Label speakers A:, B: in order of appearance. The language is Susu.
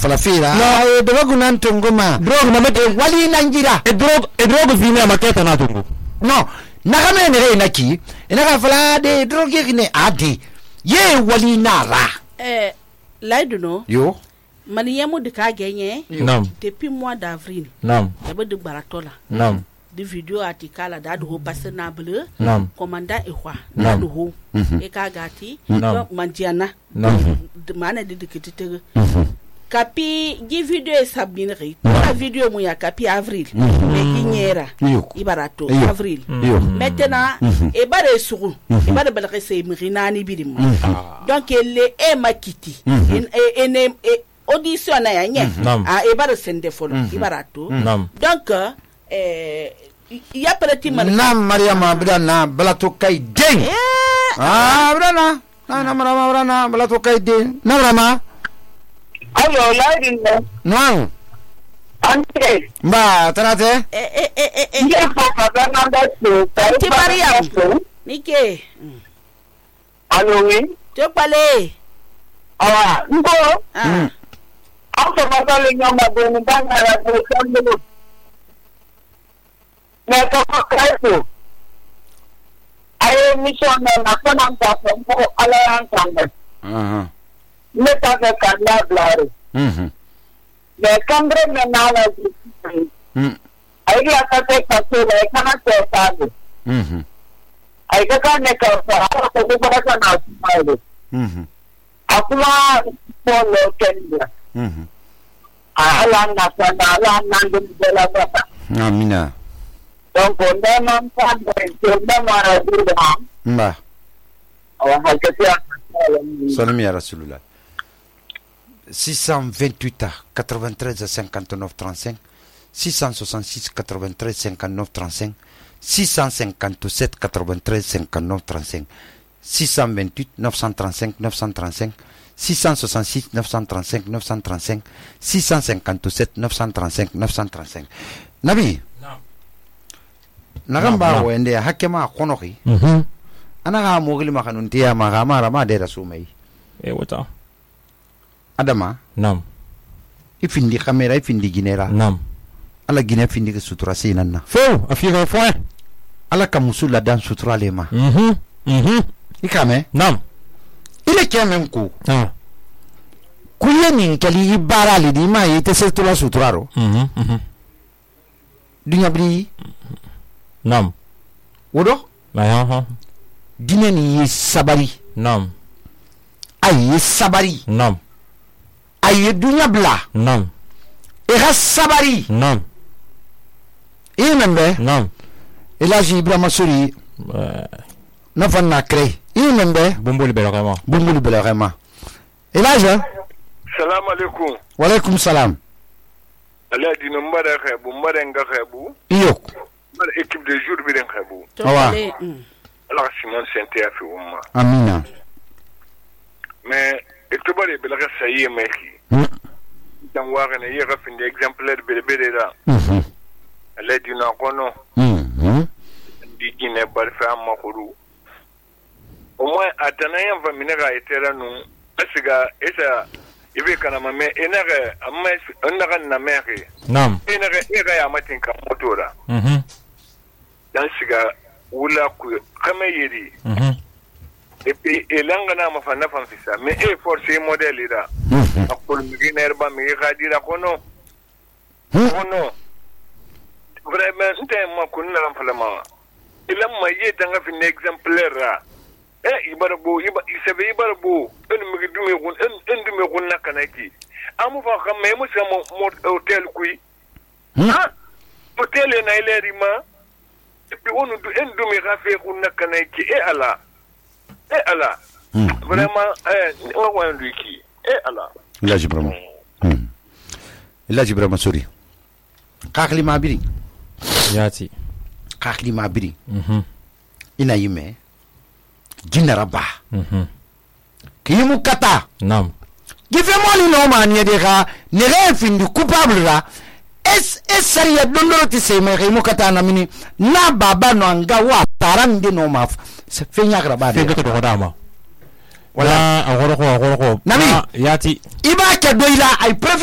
A: falafira
B: No.
A: drogue nan tunguma
B: drogue na mate
A: wali nangira
B: drogue fini amaketa na tungu
A: no nagame ne re naki ina fala de drogue ne ade ye wali nara
C: laidu no
A: yo
C: maniyamu de ka genye
B: nam
C: depuis mois d'avril
B: nam
C: yaba de baratola
B: nam
C: de video article da do passer na bleu
B: nam
C: commandant ehwa
B: Nam.
C: do ho e ka gati
B: Nam.
C: mandiana
B: nam
C: de mana de kitete kapi gi video sabinri la video mu ya kapi avril e ginyera
A: Yo.
C: ibarato
A: Yo.
C: avril
A: yo
C: maintenant e bare sugu e bare balaka se mirinani bidim donc le e makiti ene audition na ya nye
B: Nam.
C: e bare sende folo ibarato
B: nam
C: donc ya preti man
A: na mariama brana balato kai den brana na mariama brana balato kai den na mariama
D: Ayo, lain
A: no
D: ante.
A: ba tanate
D: Dia apa nanda tu?
C: Auntie Mariam. Nike
D: Alo wi.
C: to pale
D: Ngo. Apa masalah yang ada ni bangara tu sambil. Mereka pakai tu. Ayo mission na nak tak semua alasan sambil. Mereka kerana belari. Mereka mengenal Ayo kata kata mereka nak tahu. Ayo kan mereka apa tu mereka nak tahu. Aku lah follow Kenya. Alam nandun jalan apa?
A: amina
D: Donc on a manfaat dari mara dulu.
A: ba
D: Awak hakikatnya.
A: salam ya rasulullah 628 93 59 35 666 93 59 35 657 93 59 35 628 935 935 666 935 935 657 935 935 nabi nagamba wende hakema konoki anaga mogili makanuntia magama ma de rasumai
B: e wata
A: adama
B: nam
A: ifindi kamera ifindi ginera
B: nam
A: ala gine findi ke sutura sinanna
B: fo afika fo
A: ala ka musula dan sutura lema ikame
B: nam
A: ile kemen ku
B: ah
A: kuye nin kali ibara li di ma yete setula suturaro dunya bri
B: nam
A: wodo
B: ha
A: dine ni yi sabari
B: nam
A: ay sabari
B: nam
A: ay dunya bla
B: nam
A: e ga sabari
B: nam
A: imembe
B: nam
A: elaji ibrahima suri na fanna kre imembe
B: bomboli belakama
A: bumbulu belakama elaja
E: Salam alaikum.
A: wa alaikum salam
E: Allah dina mbada khabu mbada nga khabu.
A: iyo
E: Mbada équipe de jour bi den khabu.
C: to
A: Awa.
C: pale
E: Allah Simon Sente ya fi umma.
A: amina
E: Mais etobare belaga sayi meki. Dan waga ne yega fin de exemplaire bele da. Allah dina kono di gine barfa amma khuru. Au moins atanayan va minera etera nu asiga esa ibe kana mame enere amma enere na meke.
B: nam
E: Enere ya matin ka motora. Dan siga wula ku kama yiri et puis elanga na mafana fanfisa mais e force modèle ira akol miginer ba mi gadira kono vraiment nte ma kunna lam falama ilam ma yeta nga fin exemplaire ra ibarbo isabe ibarbo en mi dume gun en dume gun nakanaki amu fa kam me mo sama hotel kui hotel na ilerima et puis on en dume rafe gun nakanaki ala vraiment on va lui qui ala
A: ilaji brahma ilaji brahma suri kakli mabiri
B: yati
A: kakli mabiri ina yime jinara ba kimu kata
B: nam
A: gife moli no mani de ga ne re findi coupable ra es sariya dondoro ti se me kimu kata na mini na baba no anga wa tarande no ma se fenya graba de
B: fe ko dama wala agoro ko
A: Nami.
B: yati
A: iba ke doila I prefer